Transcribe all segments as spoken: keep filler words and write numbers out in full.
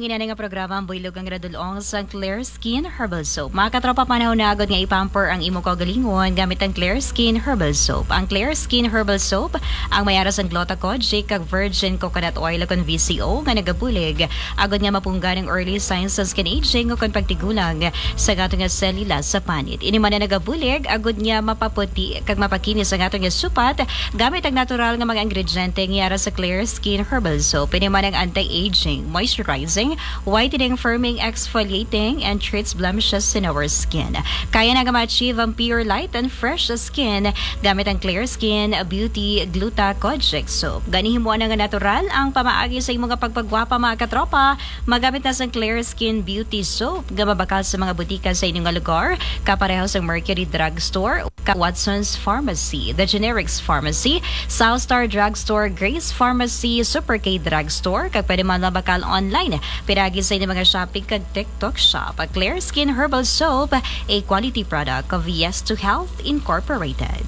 Ina nga programa ang buylog nga radulong sang Clear Skin Herbal Soap. Mga katropa, panahon na agod nga i-pamper ang imo kaugalingon gamit ang Clear Skin Herbal Soap. Ang Clear Skin Herbal Soap ang may ara sang gluta kojic kag virgin coconut oil kon V C O nga nagabulig agod nga mapunggan ang early signs sa skin aging o kon pagtigulang sa ato nga selula sa panit. Ini man ang nagabulig agod nga mapaputi kag mapakinis ang ato nga supat gamit ang natural nga mga ingrediente nga ara sa Clear Skin Herbal Soap. Ini man ang anti-aging, moisturizing, whitening, firming, exfoliating, and treats blemishes in our skin. Kaya na nga ma-achieve ang pure light and fresh skin gamit ang Clear Skin Beauty Gluta Kojic Soap. Gani himo na nga natural ang pamaagi sa imo nga pagpagwapa, mga katropa. Magamit na sang Clear Skin Beauty Soap nga mabakal sa mga butika sa inyo nga lugar, kapareho sa Mercury Drugstore, ka Watson's Pharmacy, The Generics Pharmacy, South Star Drugstore, Grace Pharmacy, Super K Drugstore, kag pwede man mabakal online. Pinagi sa inyo mga shopping kag TikTok shop. Clear Skin Herbal Soap, a quality product of Yes to Health Incorporated.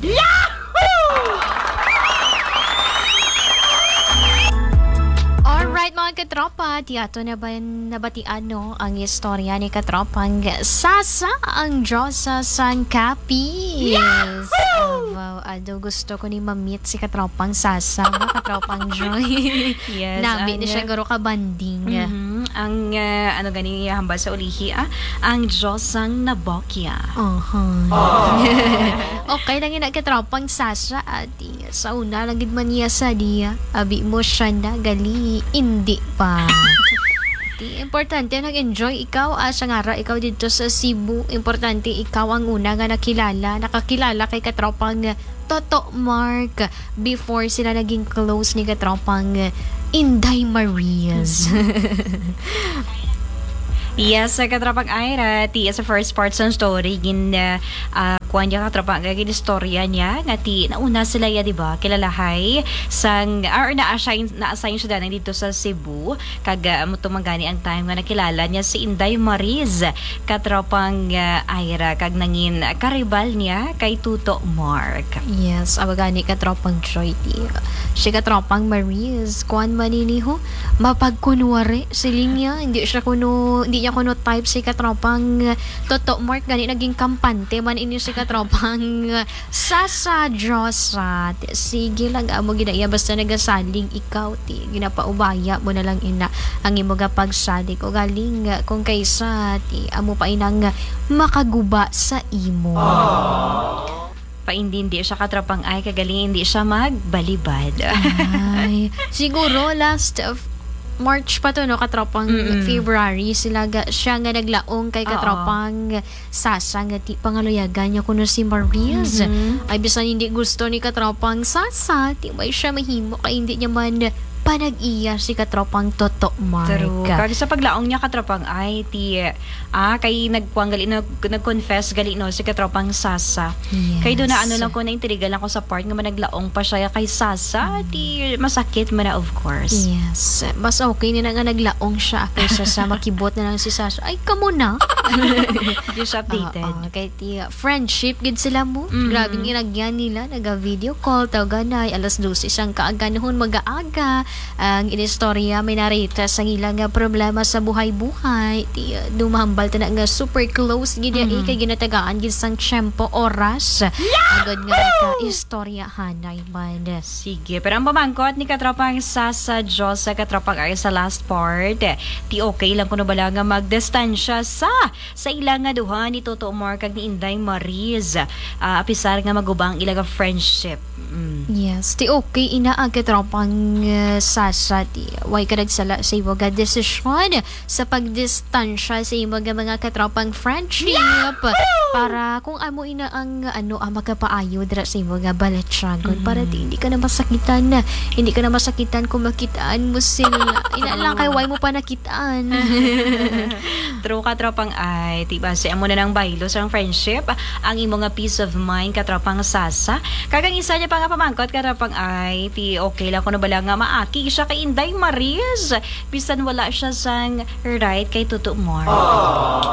Alright, mga katropa, ti ato na ba nabatian, no, ang istorya ni katropang Sasa, ang diyosa sang kapis? Yahoo! Wow, ado gusto ko ni mamit si katropang Sasa, no, katropang Joy. Yes, Nami ang, ni siya guro ka banding. Mhm. Ang, ah, ano gani hambal sa ulihi, ah? Ang Diyos ang nabokya. Aha. Okay lang yun, katropang Sasa, ati. Sa una lang gid man niya sa diya. Abi mo siya na, gali, hindi pa. Ti, importante nag-enjoy ikaw, ah, sa ngara ikaw dito sa Cebu. Importante ikaw ang una nga nakilala, nakakilala kay katropang Toto Mark before sila naging close ni katropang Inday Marias. Yes, sa katropang Ira, ti sa first part sa story, gin, ah, ah, kuwan niya katropa, nga gin-istorya niya, nga ti, nauna sila ya, di ba? Kilalahay, sang, or na-assign, na-assign siya danay dito sa Cebu, kag, ah, amo to man gani ang time nga nakilala niya si Inday Mariz, katropang, ah, Ira, kag nangin karibal niya kay Tuto Mark. Yes, amo gani katropang Joy, ti. Si katropang Mariz, kuwan man ini ho, mapagkunwari, siling niya, hindi siya kuno, hindi niya kuno type si katropang Toto Mark, gani naging kampante man ini si katropang Sasa Diyosa. Sige lang, amo gid na iya, basta nagasalig ikaw, ti, ginapaubaya mo na lang ina ang imo nga pagsalig. O galing, kung kaysa, ti, amo pa inang makaguba sa imo. Paindi, hindi siya katropang ay, kagaling hindi siya magbalibad. Ay, siguro last of March pa to, no, katropang Mm-mm. February, sila ga, siya nga naglaong kay Oo. Katropang Sasa nga ti pangaluyagan niya kuno si Mariz. Mhm. Ay, bisan hindi gusto ni katropang Sasa, ti may siya mahimo kay hindi niya man panag-iya si katropang Toto Mark. True. Kag sa paglaong niya katropang ay ti, ah, kay nagkuwang gali, nag-, nag-confess gali, no, si katropang Sasa. Yes. Kay doon na ano lang ko, naintriga lang ko sa part nga managlaong pa siya kay Sasa, Mm. ti masakit man na, of course. Yes. Mas okay nila nga naglaong siya kaysa sa makibot na lang si Sasa. Ay, kamo na. Hindi siya updated. Oo, kay ti friendship gid sila mo. Mm. Grabe ang inagyan nila. Naga-video call, tawganay. Alas dose sang kaaganhon, mag-aaga. Ang inistorya, may narita sa ilang nga problema sa buhay-buhay. Ti, uh, dumahambal ta na nga super close gid ya, eh, Mm. kay ginatagaan gid sang tiyempo, oras. Agad nga maka-istoryahanay man. Sige, pero ang pamangkot ni katropang Sasa Diyosa, katropang ay sa last part, ti okay lang kuno bala nga magdistansya sa, sa ila nga duha ni Toto Omar kag ni Inday Mariz, ah, apisar nga maguba ang ila nga friendship. Mm. Yes, ti okay ina ang katropang, uh, Sasa, ti way ka nagsala sa imo nga desisyon sa pagdistansya sa imo nga mga katropang friendship. Yahoo! Para kung amo ina ang, ano, ah, makapaayo dira sa imo nga balatyagon, para Mm. di, hindi ka na masakitan, hindi ka na masakitan kung makitaan mo sila. Ina lang kay True. Way mo pa nakitaan. True, katropang ay, ti basi amo na nang baylo sa friendship, ang imo nga peace of mind, katropang Sasa. Kag ang isa niya pa nga pamangkot, katropang ay, ti okay lang kuno bala nga maaki siya kay Inday Mariz, bisan wala siya sang right kay Toto Omar.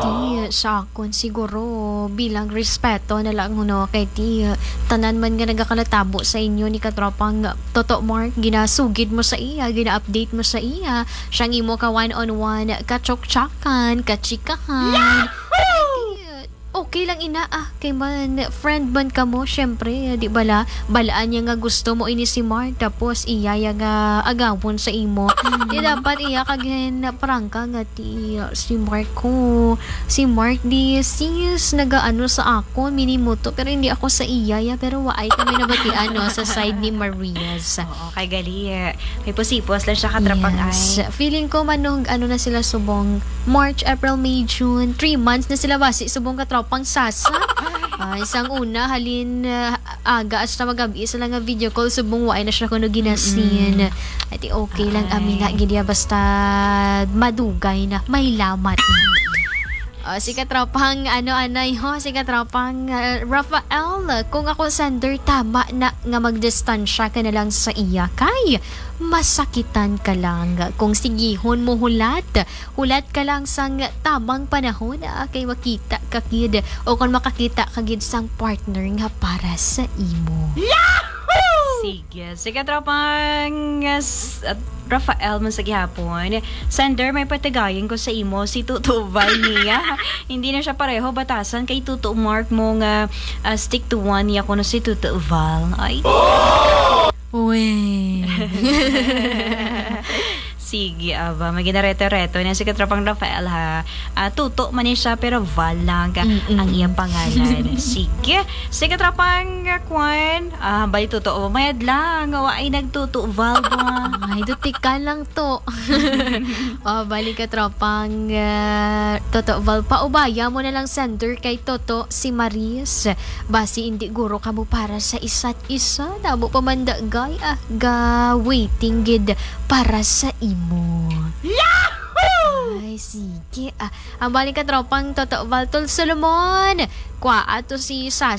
Ti, sa akon siguro, Bilang respeto na lang, no, kay ti, uh, tanan man nga nagakanatabo sa inyo ni katropang Toto Mark, ginasugid mo sa iya, gina-update mo sa iya. Siya ang imo ka one-on-one, kachokchakan, kachikahan. Kay ti, uh, okay lang ina, ah, kay man, friend man kamo, syempre, di bala, balaan niya nga gusto mo ini si Mark, tapos iya ya nga agawon sa imo. Di dapat iya kag hin prangka nga ti, uh, si Mark ko, si Mark di sis nagaano sa akon, minimuto, pero hindi ako sa iya ya, pero waay kami nabatian, no, sa side ni Marias. Oo, kay gali, eh, may pusipos lang siya, katrapang Yes. ay. Feeling ko, manong, ano na sila subong, March, April, May, June, three months na sila basi subong katropang Sasa. Ah, isang una, halin, ah, aga hasta magabi sila nga video call, subong waay na siya kuno ginasin. Mm-mm. Ati okay lang, Ay. Amina, gid ya, basta madugay na, may lamat na. Oh, si katropang, ano, anay, ho, si katropang, ah, Rafael, kung ako sender, tama na nga magdistansya ka na lang sa iya kay masakitan ka lang. Kung sigihon mo hulat, hulat ka lang sang tamang panahon, ah, kay makita ka gid o kung makakita ka gid sang partner nga para sa imo. Sige. Sige, tropang, uh, s-, uh, Rafael man sa gihapon. Sender, may patigayon ko sa imo, si Tuto Val niya. Hindi na siya pareho batasan kay Tuto Mark mo nga, uh, stick to one niya kuno si Tuto Val. Ay. Uy. Sige, aba, maginareto-reto na si katropang Rafael, ha. Ah, Tuto man ni siya, pero Val lang ang Mm-mm. iyang pangalan. Sige. Si katropang, uh, Kwan, ah, bali, Tuto, mayad lang. Wa ay nagtuto, Val, ba? Ay, duti ka lang to. Oh, bali, katropang, uh, Toto Val, paubaya mo na lang sender kay Toto si Maris. Basi hindi guro kamo para sa isa't isa. Damo pa man dagay, ah, ga waiting gid para sa imo. Yahoo! Ay, sige. Ah, ang bali, katropang Toto Val, Tol Solomon. Kwa ato si Sas